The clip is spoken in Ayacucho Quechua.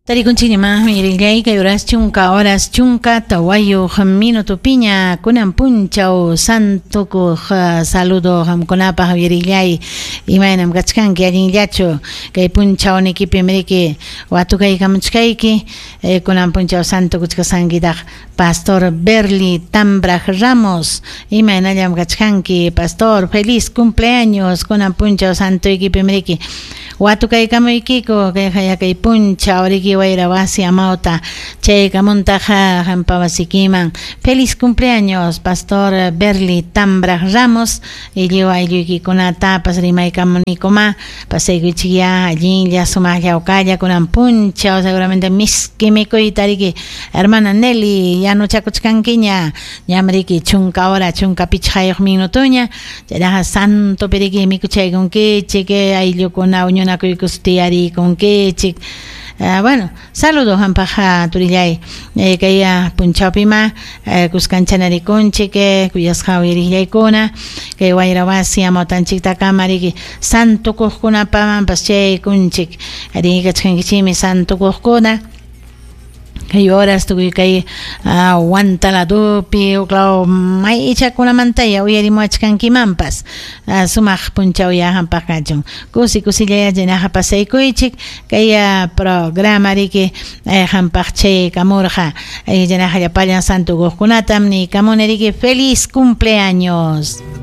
Tarikunchikñamá uyarillay kay horas chunka horas 14 minutopiña kunan punchaw santukuq saludo qamkunapaq uyarillay. Imaynam kachkanki, allinllachu kay punchawnikipim riki watukaykamuchkayki kunan punchaw santukuchkasankitaq Pastor Berly Tambraj Ramos. Imaynallam kachkanki, pastor? Feliz cumpleaños kunan punchaw santuykipim riki watukaykamuykiku kay kay punchaw riki wayra wasi amawta chaykamuntaqa qampa wasikiman. Feliz cumpleaños, Pastor Berly Tambraj Ramos, lliw aylluykikunatapas rimaykamunikuma. Pasaykuychikya allinlla sumaqlla hawkalla kunan punchaw, seguramente miski mikuyta riki, hermana Nelly, yanuchakuchkankiña. Ñam riki 10 hora 15 minutoña, chaynaqa santopi riki mikuchaykunkichik, ayllukuna huñunakuykus tiyarikunkichik. Bueno, saludo qampaq, turillay, kay punchawpima kuskanchanarikunchik, kuyasqa uyariqllaykuna, kay wayra wasi amawtanchiktakama riki santukuqkunapamanpas chaykunchik. Riki kachkankichikmi santukuqkuna kay horas tukuy kay Huantaladupi uklaw maychakunamantaya uyarimuwachkankimanpas. Sumaq punchawya qampaq kachun, kusi kusillaya chaynaqa pasaykuychik. Kay programa riki qampaq chaykamurqa. Chaynaqa llapallan santukuqkunatam niykamuni riki feliz cumpleaños.